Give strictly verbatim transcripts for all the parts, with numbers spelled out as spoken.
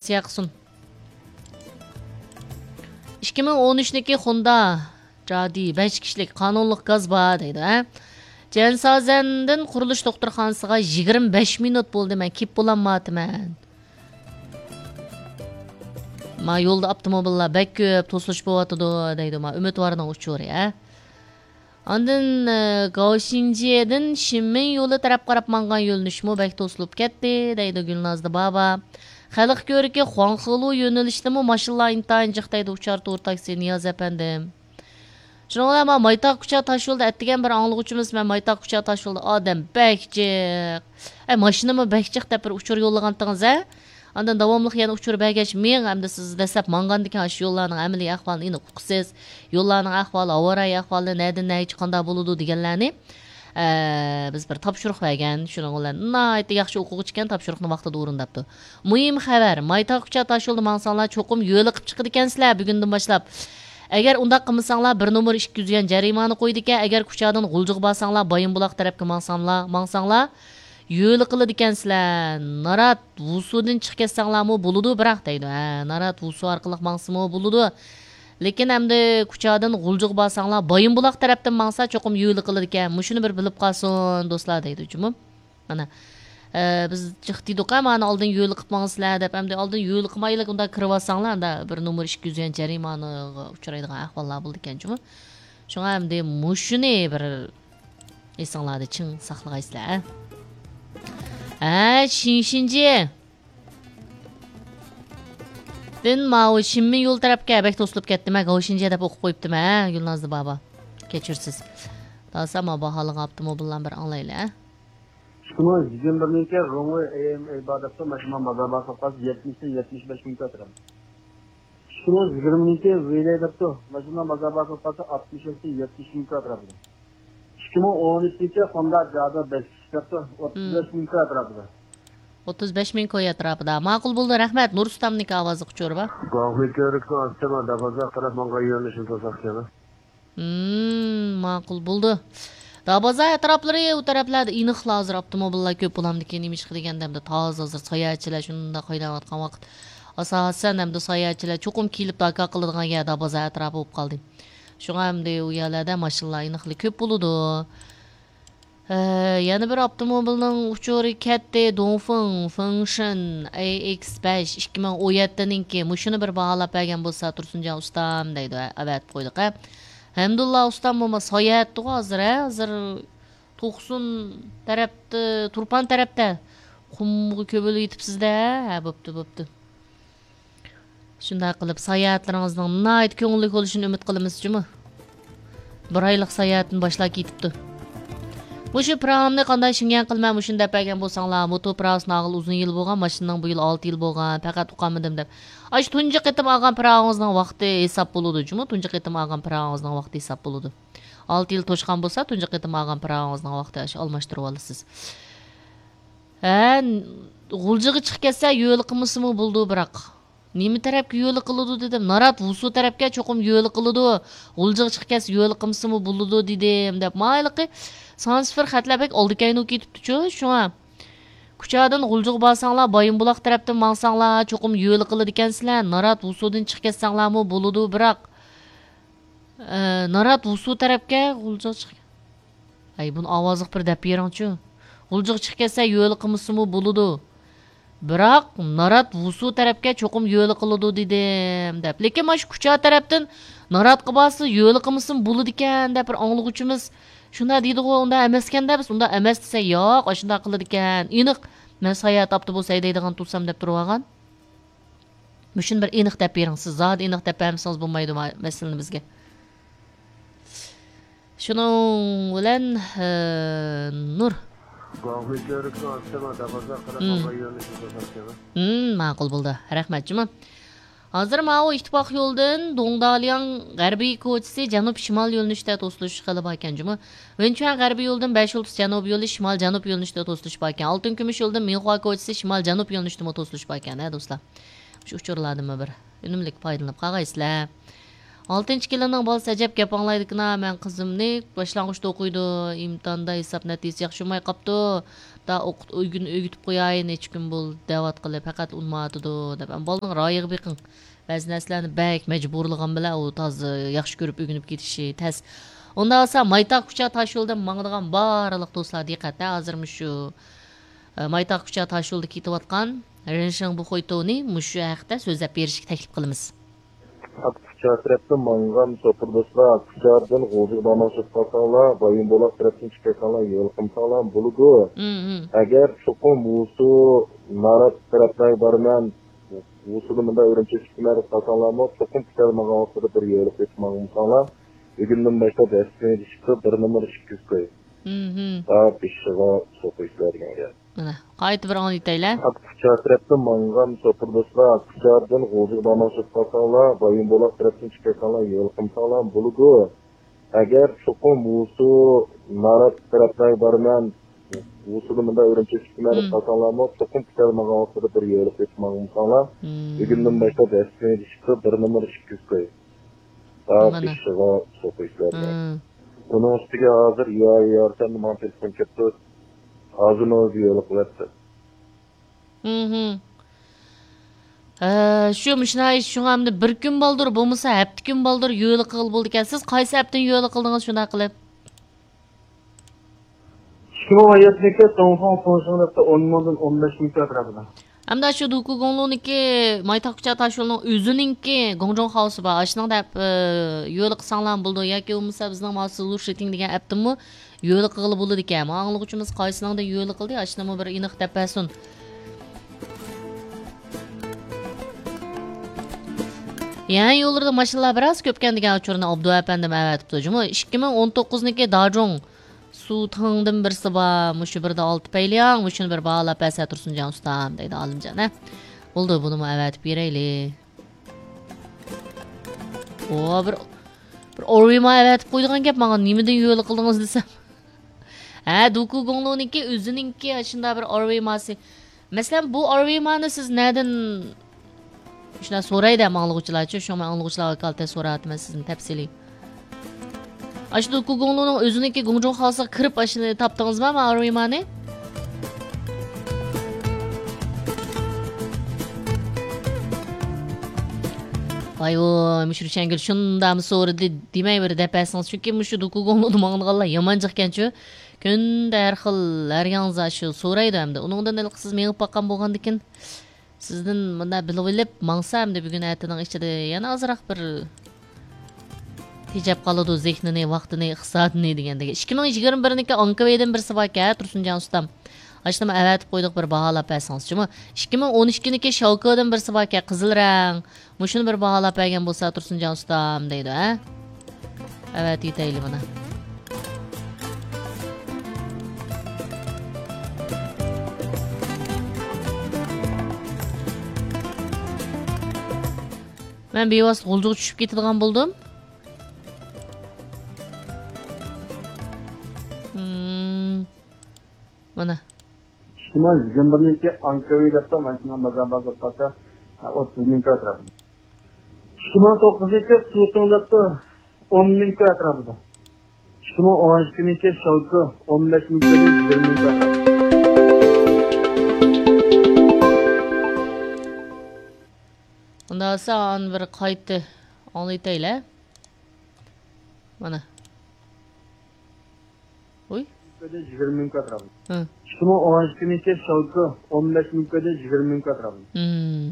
سىياقسۇن. ئىككى مىڭ ئون ئۈچنىڭكى خوندا جادى بەش كىشىلىك قانۇنلۇق گاز بار دەيدۇ، ھە؟ جيەنشازەندىن قۇرۇلۇش دوختۇرخانىسىغا يىگىرمە بەش مىنۇت بولدى، مەن كېلىپ بولالمايۋاتىمەن. ما يولدا ئاپتوموبىللار بەك كۆپ، توسۇلۇش بولۇۋاتىدۇ دەيدۇ، ما ئۈمىدۋارنىڭ ئۇچۇرى، ھە؟ ئاندىن، ئى، گاۋشىنجيېدىن شىنمىن يولى تەرەپ قاراپ ماڭغان يۆنىلىشمۇ بەك توسۇلۇپ كەتتى، دەيدۇ گۈلنازدا بابا. خەلق كۆركى خۇاڭخېلۇ يۆنىلىشتىمۇ ماشىنىلار ئىنتايىن جىق، دەيدۇ ئۇچار تور تاكسى نىياز ئەپەندىم. شۇنىڭ بىلەن مانا مايتاغ كۇچا تاشيولىدا ئەتىگەن بىر ئاڭلىغۇچىمىز، مەن مايتاغ كۇچا تاشيولىدا ئادەم بەك جىق، ئەي، ماشىنىمۇ بەك جىق دەپ بىر ئۇچۇر يوللىغانتىڭىز، ھە؟ ئاندىن داۋاملىق يەنە ئۇچۇر بەرگەچ، مېڭ ئەمدى سىز دەسلەپ ماڭغاندىكىن ئاشۇ يوللارنىڭ ئەمەلىي ئەھۋالىنى ئېنىق ئۇقىسىز. يوللارنىڭ ئەھۋالى، ھاۋا رايى ئەھۋالى، نەدىن نەگىچە قانداق بولىدۇ دېگەنلەرنى، ئە، بىز بىر تاپشۇرۇق بەرگەن. شۇنىڭ بىلەن ناھايىتى ياخشى ئوقۇغۇچى ئىكەن، تاپشۇرۇقنى ۋاقتىدا ئورۇنداپتۇ. مۇھىم خەۋەر، مايتاغ كۇچا تاشيولىدا ماڭساڭلار، چوقۇم يۆلىقىپ چىقىدىكەنسىلەر بۈگۈندىن باشلاپ. ئەگەر ئۇنداق قىلمىساڭلار، بىر نومۇر ئىككى يۈز يۈەن جەرىمانە قويىدىكەن. ئەگەر كۇچادىن غۇلجىغا بارساڭلار، بايىنبۇلاق تەرەپكە ماڭساڭلار، ماڭساڭلار، يۆلە قىلىدىكەنسىلەر. نارات ۋۇسۇدىن چىقىپ كەتسەڭلارمۇ بولىدۇ، بىراق دەيدۇ. ھە، نارات ۋۇسۇ ئارقىلىق ماڭسىمۇ بولىدۇ. لېكىن ئەمدى كۇچادىن غۇلجىغا بارساڭلار، بايىنبۇلاق تەرەپتىن ماڭسا چوقۇم يۆلە قىلىدىكەن. مۇشۇنى بىر بىلىپ قالسۇن دوستلار دەيدۇ جۇمۇ. مانا، ئە، بىز جىق دېدۇق، مانا ئالدىن يۆلە قىلىپ ماڭىسىلەر دەپ. ئەمدى ئالدىن يۆلە قىلمايلى، ئۇنداق كىرىۋالساڭلار، ئاندا بىر نومۇر ئىككى يۈز يۈەن جەرىمانىغا ئۇچرايدىغان ئەھۋاللار بولىدىكەن جۇمۇ. شۇڭا ئەمدى مۇشۇنى بىر ئېسىڭلاردا چىڭ ساقلىغايسىلەر، ھە؟ ھە، شىنشىنجى. دىن ماۋۇ شىنمىن يول تەرەپكە بەك توسۇلۇپ كەتتىم، ھە، گاۋشىنجى دەپ ئوقۇپ قويۇپتىم، ھە، گۈلنازلى بابا. كەچۈرسىز. داسا ما باھالىغان ئاپتوموبىللارنى بىر ئاڭلايلى، ھە. ئىككى مىڭ يىگىرمە بىرنىڭكى روڭۋېي ئېم ئېي بار دەپتۇ، ماشىنا بازار بار سوققاس يەتمىشتىن يەتمىش بەش مىڭ كىلو ئەتراپىدا. ئىككى مىڭ يىگىرمىنىڭكى ۋىلەي دەپتۇ، ماشىنا بازار بار سوققاس ئاتمىش ئۈچتىن يەتمىش مىڭ كىلو ئەتراپىدا. ئىككى مىڭ ئون ئۈچىنچى خوندا جادا بەش كىشى دەپتۇ، ئوتتۇز بەش مىڭ كىلو ئەتراپىدا. ئوتتۇز بەش مىڭ كوي ئەتراپىدا. ماقۇل بولدى، رەھمەت. نۇرسۇلتاننىڭكى ئاۋازى قۇچۇرى بار. گاڭخۇي كۆۋرۈكنىڭ ئاستىما دەرۋازا قاراپ ماڭغان يۆنىلىشىنى توساق كېلە. مم، ماقۇل بولدى. دابازا ئەتراپلىرى، ئۇ تەرەپلەردە ئېنىقلا ھازىر ئاپتوموبىللار كۆپ بولامدىكىن، نېمىشقا دېگەندە، ئەمدى تازا ھازىر ساياھەتچىلەر شۇنداق ھەيدەۋاتقان ۋاقىت. ئاساسەن، ئەمدى ساياھەتچىلەر چوقۇم كېلىپ داكا قىلىدىغان يەر دابازا ئەتراپى بولۇپ قالدى. شۇڭا ئەمدى ئۇ يەرلەردە ماشىنىلار ئېنىقلا كۆپ بولىدۇ. ھە، يەنە بىر ئاپتوموبىلنىڭ ئۇچۇرى كەتتى. دۇڭفېڭ فېڭشېن ئەي ئېكس بەش ئىككى مىڭ ئون يەتتىنىڭكى. مۇشۇنى بىر باھالاپ بەرگەن بولسا، تۇرسۇنجان ئۇستام دەيدۇ. ھە، ئەۋەتىپ قويدۇق، ھە. ھەمدۇللا ئۇستام بولما ساياھەتتىغۇ ھازىر، ھە. ھازىر توقسۇن تەرەپتە، تۇرپان تەرەپتە. قۇمغا كۆمۈلۈپ يېتىپسىز-دە، ھە. ھە، بوپتۇ، بوپتۇ. شۇنداق قىلىپ، ساياھەتلىرىڭىزنىڭ ناھايىتى كۆڭۈللۈك بولۇشىنى ئۈمىد قىلىمىز جۇمۇ. بىر ئايلىق ساياھەتنى باشلاپ كېتىپتۇ. مۇشۇ پىراڭىمنى قانداق شىڭيەن قىلىمەن مۇشۇنى دەپ بەرگەن بولساڭلار، موتو پىراڭىسىنى ئالغىلى ئۇزۇن يىل بولغان، ماشىنىنىڭ بۇ يىل ئالتە يىل بولغان، پەقەت ئۇقالمىدىم دەپ. ئاشۇ تۇنجى قېتىم ئالغان پىراڭىڭىزنىڭ ۋاقتى ھېساب بولىدۇ جۇمۇ، تۇنجى قېتىم ئالغان پىراڭىڭىزنىڭ ۋاقتى ھېساب بولىدۇ. ئالتە يىل توشقان بولسا، تۇنجى قېتىم ئالغان پىراڭىڭىزنىڭ ۋاقتى ئاشۇ ئالماشتۇرۇۋالىسىز. ھە، غۇلجىغا چىقىپ كەتسە يۆلە قىلمىسىمۇ بولىدۇ، بىراق. نېمە تەرەپكە يۆلە قىلىدۇ دېدىم. نارات ۋۇسۇ تەرەپكە چوقۇم يۆلە قىلىدۇ. غۇلجىغا چىقىپ كەتسە يۆلە قىلمىسىمۇ بولىدۇ دېدىم دەپ. ما ھېلىقى سان سىفىر خەتلەر بەك ئالدىكەينىۋ كېتىپتۇچۇ، شۇڭا. كۇچادىن غۇلجىغا بارساڭلار، بايىنبۇلاق تەرەپتىن ماڭساڭلار، چوقۇم يۆلە قىلىدىكەنسىلەر. نارات ۋۇسۇدىن چىقىپ كەتسەڭلارمۇ بولىدۇ، بىراق. ئە، نارات ۋۇسۇ تەرەپكە غۇلجىغا چىق-، ئەي، بۇنى ئاۋازلىق بىر دەپ بېرىڭچۇ. غۇلجىغا چىقىپ كەتسە يۆلە قىلمىسىمۇ بولىدۇ. بىراق، نارات ۋۇسۇ تەرەپكە چوقۇم يۆلە قىلىدۇ دېدىم، دەپ. لېكىن مانا شۇ كۇچا تەرەپتىن ناراتقا بارسا يۆلە قىلمىسىمۇ بولىدىكەن، دەپ بىر ئاڭلىغۇچىمىز شۇنداق دېدىغۇ، ئۇنداق ئەمەسكەندە بىز، ئۇنداق ئەمەس دېسە، ياق، ئاشۇنداق قىلىدىكەن، ئېنىق، مەن ساياھەت ئاپتوبۇسى ھەيدەيدىغان تۇرسام، دەپ تۇرۇۋالغان. مۇشۇنى بىر ئېنىق دەپ بېرىڭ، سىز زادى ئېنىق دەپ بەرمىسىڭىز بولمايدۇ ما-، مەسىلىنى بىزگە. شۇنىڭ بىلەن، ئە، نۇر. گۇاڭخۇي كۆۋرۈكنىڭ ئاستىما دەرۋازا قاراپ مم. ماڭغان يۆنىلىشنى توساق كېلە. مم، ماقۇل بولدى. رەھمەت جۇمۇ. ھازىر ماۋۇ ئىتتىپاق يولىدىن دۇڭدالياڭ غەربىي كوچىسى جەنۇب شىمال يۆنىلىشتە توسۇلۇش خېلى باركەن جۇمۇ. ۋېنچۈەن غەربىي يولىدىن بەش يۇلتۇز جەنۇب يولى شىمال جەنۇب يۆنىلىشتە توسۇلۇش باركەن. ئالتۇن كۈمۈش يولىدىن مىنخۇا كوچىسى شىمال جەنۇب يۆنىلىشتىمۇ توسۇلۇش باركەن، ھە دوستلار. شۇ ئۇچۇرلاردىنمۇ بىر ئۈنۈملۈك پايدىلىنىپ قالغايسىلەر. ئالتىنچى كېلىننىڭ بالىسى ئەجەب گەپ ئاڭلايدىكىنا، مەن قىزىمنى باشلانغۇچتا ئوقۇيدۇ، ئىمتىھاندا ھېساب نەتىجىسى ياخشى بولماي قاپتۇ، دا ئوقۇت-، ئۆگىنى ئۆگىتىپ قوياي، نەچچە كۈن بولدى دەۋاتقىلى، پەقەت ئۇنىمايۋاتىدۇ دەپ. ئەمما بالىنىڭ رايىغا بېقىڭ. بەزى نەرسىلەرنى بەك مەجبۇرلىغان بىلەن ئۇ تازا ياخشى كۆرۈپ ئۆگىنىپ كېتىشى تەس. ئۇنداق بولسا مايتاغ كۇچا تاشيولىدىن ماڭىدىغان بارلىق دوستلار دىققەت ھە، ھازىر مۇشۇ، ئە، مايتاغ كۇچا تاشيولىدا كېتىۋاتقان رېنشىڭ بۇخۇيتوۋنى مۇشۇ ھەقتە سۆزلەپ بېرىشكە تەكلىپ قىلىمىز. كۇچا تەرەپتىن ماڭغان شوپۇر دوستلار، كۇچادىن غۇلجىغا بارماقچى بولۇپ قالساڭلار، بايىنبۇلاق تەرەپتىن چىقىپ كەتسەڭلار، يول قىلمىساڭلار بولىدۇ. مم، مم. ئەگەر چوقۇم ۋۇسۇ، نارات تەرەپلەرگە بارىمەن، ۋۇسۇدا مۇنداق ئۈرۈمچى چىقىمەن دەپ قالساڭلارمۇ، چوقۇم كۈتەلمىگەن ۋاقتىدا بىر يولۇق ئۆتۈپ ماڭمىساڭلار، بۈگۈندىن باشلاپ دەسلىپىنى چىقىپ، بىر نومۇر ئىككى يۈز كوي. مم. تا بېشىغا سوقۇيسىلەر دېگەن گەپ. مانا، قايتا بىر ئاڭلىتايلى. كۇچا تەرەپتىن ماڭغان شوپۇر دوستلار، كۇچادىن غۇلجىغا بارماقچى بولۇپ قالساڭلار، بايىنبۇلاق تەرەپتىن چىقىپ كەتسەڭلار، يول قىلمىساڭلار بولىدۇ. ئەگەر چوقۇم ۋۇسۇ، نارات تەرەپلەرگە بارىمەن، ۋۇسۇدا مۇنداق ئۈرۈمچى چىقىمەن دەپ قالساڭلارمۇ، چوقۇم كۈتەلمىگەن ۋاقتىدا بىر يولۇق ئۆتۈپ ماڭمىساڭلار، بۈگۈندىن باشلاپ دەسلىپىنى چىقىپ، بىر نومۇر ئىككى يۈز كوي. تا بېشىغا سوقۇيسىلەر دېگەن. ئۇنىڭ ئۈستىگە ھازىر يا يارسەندە ماڭا تېلېفون كەپتۇ. ھازىرمۇ يولۇق قىلىۋەتتى. ھە، شۇ مۇشۇنداق ئىش، شۇڭا ئەمدى بىر كۈن بالدۇر بولمىسا، ھەپتە كۈن بالدۇر يولۇق قىلغىلى بولىدىكەن. سىز قايسى ھەپتىنى يولۇق قىلدىڭىز شۇنداق قىلىپ؟ ئىككى مىڭ ئون يەتتىنچى يىلى توڭخۇڭ تۇڭشىڭ دەپتۇ ئون مىڭدىن ئون بەش مىڭ كىلو ئەتراپىدا. ئەمدى شۇ دۇكۇگۇڭلۇنىڭكى مايتاغ كۇچا تاشيولىنىڭ ئۆزىنىڭكى گۇڭجۇڭ خاۋسى بار. ئاشۇنىڭ دەپ، ئە، يولى قىلساڭلار بولىدۇ. ياكى بولمىسا بىزنىڭ ماۋۇ سىلۋېر شىتىڭ دېگەن ئەپتىنمۇ يولى قىلغىلى بولىدىكەن. مانا ئاڭلىغۇچىمىز قايسىنىڭدىن يولى قىلدى، ئاشۇنىمۇ بىر ئېنىق دەپ بەرسۇن. يەنە يوللىرىدا ماشىنىلار بىراز كۆپكەن دېگەن ئۇچۇرنى ئابدۇئەپەندىم ئەۋەتىپتۇ. جۇمۇ ئىككى مىڭ ئون توققۇزنىڭكى داجۇڭ سۇتىڭدىن بىرسى بار، مۇشۇ بىردە ئالتە پەيلىياڭ، مۇشۇنى بىر باھالاپ بەرسە تۇرسۇنجان ئۇستام، دەيدۇ ئالىمجان، ھە. بولدى، بۇنىمۇ ئەۋەتىپ بېرەيلى. ئو، بىر، بىر ئورۋىما ئەۋەتىپ قويىدىغان گەپ ماڭا، نېمىدىن يولى قىلدىڭىز دېسەم. ھە، دۇكۇگۇڭلۇنىڭكى ئۆزىنىڭكى شۇنداق بىر ئورۋىماسى. مەسىلەن، بۇ ئورۋىمانى سىز نەدىن، شۇنداق سورايدۇ ھەم ئاڭلىغۇچىلارچۇ، شۇڭا مەن ئاڭلىغۇچىلارغا ۋاكالىتەن سوراۋاتىمەن سىزدىن تەپسىلىي. ئاشۇ دۇكۇگۇڭلۇنىڭ ئۆزىنىڭكى گۇڭجۇڭ خالىسىغا كىرىپ ئاشۇنى تاپتىڭىزمۇ، ماۋۇ ئورۋىمانى؟ ۋاي ۋوي، مۇشۇ رۇشەنگۈل شۇنداقمۇ سورىدى دېمەي بىر دەپ بەرسىڭىز، چۈنكى مۇشۇ دۇكۇگۇڭلۇدا ماڭىدىغانلار يامان جىقكەنچۇ. كۈندە ھەر خىل، ھەر ياڭزا شۇ سورايدۇ ئەمدى. ئۇنىڭدىن ھېلىقى سىز مېڭىپ باققان بولغاندىكىن، سىزدىن مۇنداق بىلىۋېلىپ ماڭسا ئەمدى بۈگۈن ئەتىنىڭ ئىچىدە يەنە ئازراق بىر تېجەپ قالىدۇ زېھنىنى، ۋاقتىنى، ئىقتىسادىنى دېگەندەك. ئىككى مىڭ يىگىرمە بىرنىڭكى ئاڭكىۋېيدىن بىرسى باركەن، تۇرسۇنجان ئۇستام. ئاشۇنىمۇ ئەۋەتىپ قويدۇق، بىر باھالاپ بەرسىڭىزچۇمۇ. ئىككى مىڭ ئون ئىككىنىڭكى شاۋكىدىن بىرسى باركەن، قىزىل رەڭ. مۇشۇنى بىر باھالاپ بەرگەن بولسا تۇرسۇنجان ئۇستام دەيدۇ، ھە؟ ئەۋەتىۋېتەيلى مانا. مەن بىۋاسىتە غۇلجىغا چۈشۈپ كېتىدىغان بولدۇم. مم. مانا. ئىككى مىڭ يىگىرمە بىرنىڭكى ئانكىۋى دەپتۇ، ماشىنا بازار بازار پاتا، ئوتتۇز مىڭ كىلو ئەتراپىدا. ئىككى مىڭ توققۇزنىڭكى سۇتۇڭ دەپتۇ، ئون مىڭ كىلو ئەتراپىدا. ئىككى مىڭ ئون ئىككىنىڭكى شاۋكى، ئون بەش مىڭ كىلو، يىگىرمە مىڭ كىلو ئەتراپىدا. ئۇنداق بولسا، ئانى بىر قايتا ئاڭلىتايلى. مانا. ۋوي. يىگىرمە مىڭ كىلو ئەتراپىدا. ھە. ئىككى مىڭ ئون ئىككىنىڭكى شاۋكى، ئون بەش مىڭ كىلو، يىگىرمە مىڭ كىلو ئەتراپىدا. مم.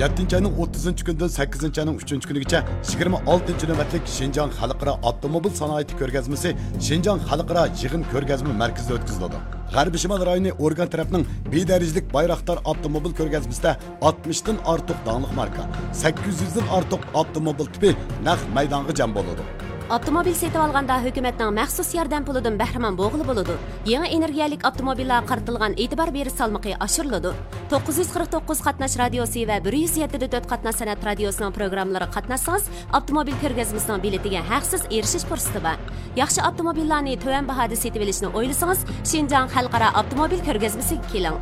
يەتتىنچى ئاينىڭ ئوتتۇزىنچى كۈنىدىن سەككىزىنچى ئاينىڭ ئۈچىنچى كۈنىگىچە يىگىرمە ئالتىنچى نۆۋەتلىك شىنجاڭ خەلقئارا ئاپتوموبىل سانائىتى كۆرگەزمىسى شىنجاڭ خەلقئارا يىغىن كۆرگەزمە مەركىزىدە ئۆتكۈزۈلىدۇ. غەربىي شىمال رايونى ئورگان تەرەپنىڭ بىر دەرىجىلىك بايراقدار ئاپتوموبىل كۆرگەزمىسىدە ئاتمىشتىن ئارتۇق داڭلىق ماركا، سەككىز يۈزدىن ئارتۇق ئاپتوموبىل تىپى نەق مەيدانغا جەم بولىدۇ. ئاپتوموبىل سېتىۋالغاندا ھۆكۈمەتنىڭ مەخسۇس ياردەم پۇلىدىن بەھرىمەن بولغىلى بولىدۇ. يېڭى ئېنېرگىيەلىك ئاپتوموبىللارغا قارىتىلغان ئېتىبار بېرىش سالمىقى ئاشۇرۇلىدۇ. توققۇز يۈز قىرىق توققۇز قاتناش رادىيوسى ۋە بىر يۈز يەتتە دە تۆت قاتناش سەنئەت رادىيوسىنىڭ پروگراممىلىرىغا قاتناشسىڭىز، ئاپتوموبىل كۆرگەزمىسىنىڭ بېلىتىگە ھەقسىز ئېرىشىش پۇرسىتى بار. ياخشى ئاپتوموبىللارنى تۆۋەن باھادا سېتىۋېلىشنى ئويلىسىڭىز، شىنجاڭ خەلقئارا ئاپتوموبىل كۆرگەزمىسىگە كېلىڭ.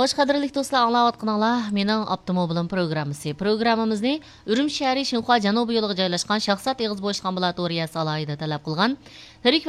خوش، قەدىرلىك دوستلار، ئاڭلاۋاتقىنىڭلار مېنىڭ ئاپتوموبىلىم پروگراممىسى. پروگراممىمىزنى ئۈرۈمچى شەھىرى شىنخۇا جەنۇبىي يولىغا جايلاشقان شاھزات ئېغىز بوشلۇق ئامبۇلاتورىيەسى ئالاھىدە تەلەپ قىلغان لىرىك ۋە